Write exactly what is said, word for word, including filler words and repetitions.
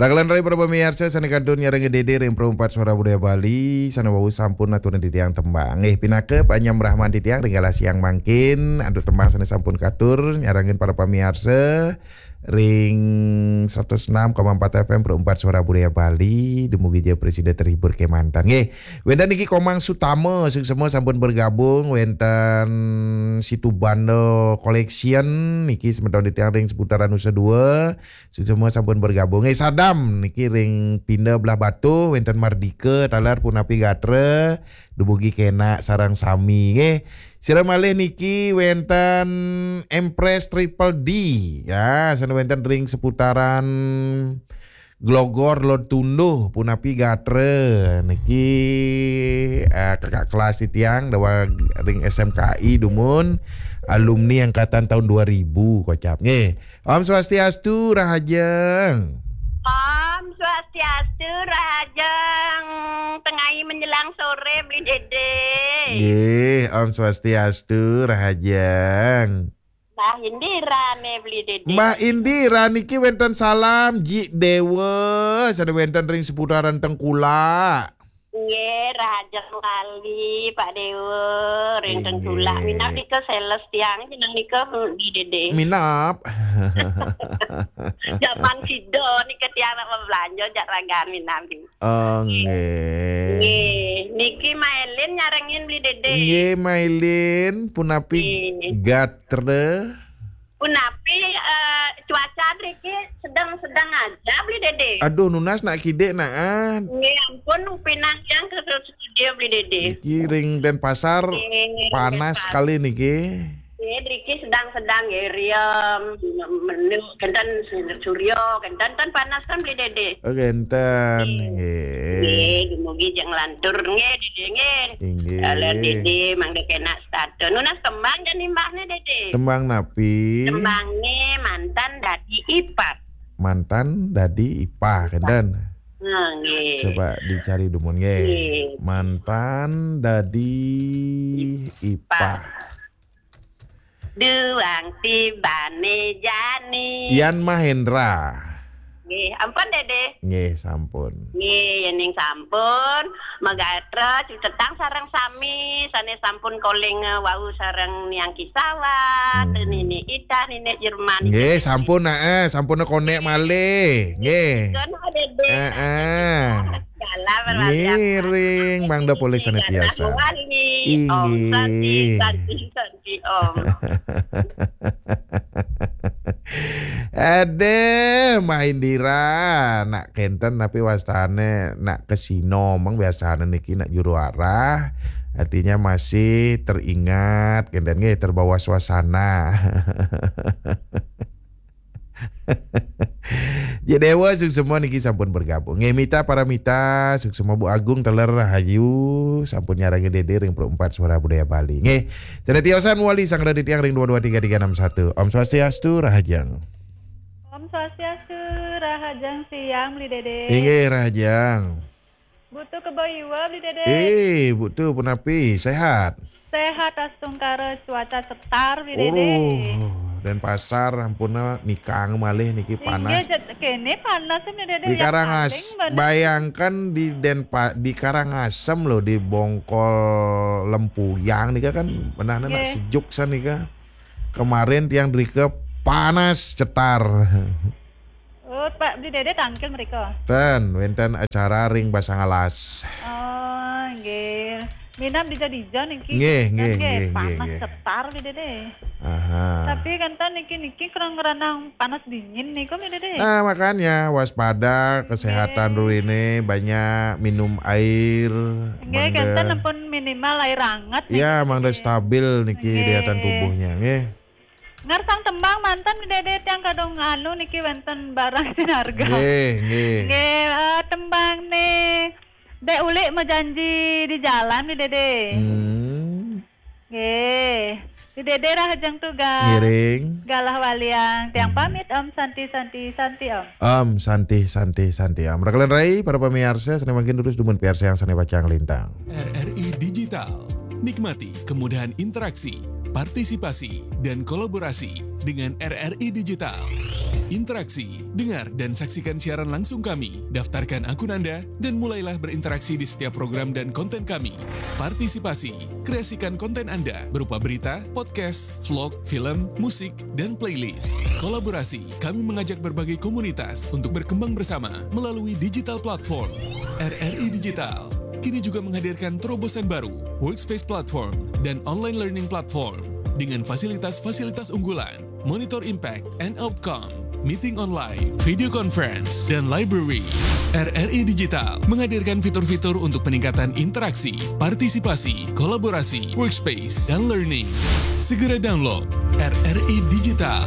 Rakalan rai para pamiarsa sané kantun nyarengin Dédé ring Pro empat Suara Budaya Bali, sané wau sampun aturin titiang tembang. Nggih, pinaka panyambrahman titiang ring galah siang mangkin, antuk tembang sané sampun katur nyarengin para pamiarsa ring seratus enam koma empat F M Pro empat Suara Budaya Bali, dumugi ja prasida terhibur kémanten. Nggih, wénten niki Komang Sutama, suksma sampun bergabung, wénten Situbanda Collection, niki semeton titiang ring seputaran Nusa Dua, suksma sampun bergabung. Eh, Sadam niki ring Pinda Belah Batu, wénten Mardika, taler punapi gatra, dumugi kénak sareng sami nggih. Sira malih niki wénten Empress Triple D. Ya, sané wénten ring seputaran Glogor, Lod Tunduh, punapi gatra niki, eh, kakak kelas titiang daweg ring S M K I dumun, alumni angkatan tahun dua ribu kocap nggih. Om Swastiastu, Rahajeng. Om Swastiastu, Rahajeng. Tengai menjelang sore, Beli Dédé. Nggih, Om Swastiastu, Rahajeng. Mbah Indira né, Beli Dédé. Mbah Indira niki wénten salam, Ji Déwa, sané wénten ring seputaran Tengkulak. Nggih, Rahajeng Bali, Pak Déwa, ring Tengkulak. Inggih. Minab nika sales tiang, jeneng nika, Beli Dédé. Minab. Jaman sida nika tiang nak belanja jak ragan minab. Oh, nggih. Nggih. Nggih, niki Mailin nyarengin Beli Dédé. Nggih, Mailin, punapi, nggih, gatra? Punapi, eh, cuaca driki sedang-sedang aja, Beli Dédé. Aduh, nunas nak kidik, nak, ah. Nggih, ampun, pinang tiang ke studio, Beli Dédé. Niki ring Denpasar, nggih, panas Denpasar sekali niki. Nggih, driki sedang-sedang, nggih, riem, menu, kenten surya, kenten ten panas kan, Beli Dédé. Oh, kenten, nggih. Nggih. Nggih, dumugi jeng lantur, nggih, Dédé, nggih. Inggih. Kalian Dédé, mangda kénak setata. Nunas tembang jani mbahné, Dédé. Tembang napi? Tembangné Mantan Dadi Ipah. Mantan Dadi Ipah, kenten. Nah, nggih. Coba dicari dumun, nggih. Nggih. Mantan Dadi Ipah. Ipah. Duang tibané jani. Yan Mahendra. Nggih, ampun, Dédé. Nggih, sampun. Nggih, yéning sampun, magatra cutetang sareng sami sané sampun koling, eh, wau sareng Niang Kisawan, hmm, Nini Ida, Nini Jerman. Nggih, sampun, eh, sampun konek malih. Nggih. Kono, Dédé. Heeh. Dalam. Ngiring, mangda polih sané tiasa. Wali. Om Santi, inggih. Santi, Santi. Om. Aduh, Mbah Indira, nak kenten tapi wastané nak kasina, mang biasané niki nak juru arah. Artinya masih teringat, kenten nggih, terbawa suasana. Ji Déwa, suksma niki sampun bergabung. Nggih, Mita Paramita, suksma Bu Agung, taler rahayu, sampun nyarengin Dédé ring Pro empat Suara Budaya Bali. Nggih, sané tiosan mawali sareng titiang ring dua dua tiga tiga enam satu. Om Swastiastu, Rahajeng. Om Swastiastu, Rahajeng siang, Beli Dédé. Inggih, Rahajeng. Butuh kebo iwa, Beli Dédé. Eh, butuh punapi, sehat? Sehat, astungkara, cuaca cetar, Beli Dédé. Uruh, Denpasar, ampun, nikang malih niki. Inggih, panas. Jet-, kéné panas, Beli Dédé. Di ya, Karangas-, paling banget. Bayangkan di Denpa-, di Karangasem loh, di Bongkol Lempuyang nika kan, benahna nak, nggih, sejuk san nika. Kemarin tiang drika panas cetar. Oh, Pak, Beli Dédé tangkil mrika? Ten, wénten acara ring Basang Alas. Oh, nggih. Minab dija-dija niki. Nggih, nggih, nggih, nggih, panas nggih. Cetar, Beli Dédé. Aha. Tapi kenten niki, niki kurang ranang panas dingin niku, Beli Dédé. Nah, makanya waspada kesehatan, nggih, ruine, banyak minum air. Nggih, mangda kenten ampun minimal air anget niki, ya, mangda, nggih, stabil niki, nggih, daya tahan tubuhnya, nggih. Ngarsang tembang manten, Dédé, tiang kadung anu niki wénten barang sinarga. Nggih, nggih. Nggih, eh, tembang nih. Dek Ulik Mejanji di Jalan nih, Dédé. Hmm. Nggih. Di Dédé rahajeng tugas. Ngiring. Galah waliang. Tiang, hmm, pamit, Om Santi, Santi, Santi, Om. Om Santi, Santi, Santi, Om. Rakalan rai, para pamiarsa, sané mangkin durus dumun piarsayang sané pacang lintang. R R I Digital. Nikmati kemudahan interaksi, partisipasi, dan kolaborasi dengan R R I Digital. Interaksi, dengar dan saksikan siaran langsung kami. Daftarkan akun Anda dan mulailah berinteraksi di setiap program dan konten kami. Partisipasi, kreasikan konten Anda berupa berita, podcast, vlog, film, musik, dan playlist. Kolaborasi, kami mengajak berbagai komunitas untuk berkembang bersama melalui digital platform. R R I Digital kini juga menghadirkan terobosan baru, workspace platform, dan online learning platform dengan fasilitas-fasilitas unggulan, monitor impact and outcome, meeting online, video conference, dan library. R R I Digital menghadirkan fitur-fitur untuk peningkatan interaksi, partisipasi, kolaborasi, workspace, dan learning. Segera download R R I Digital.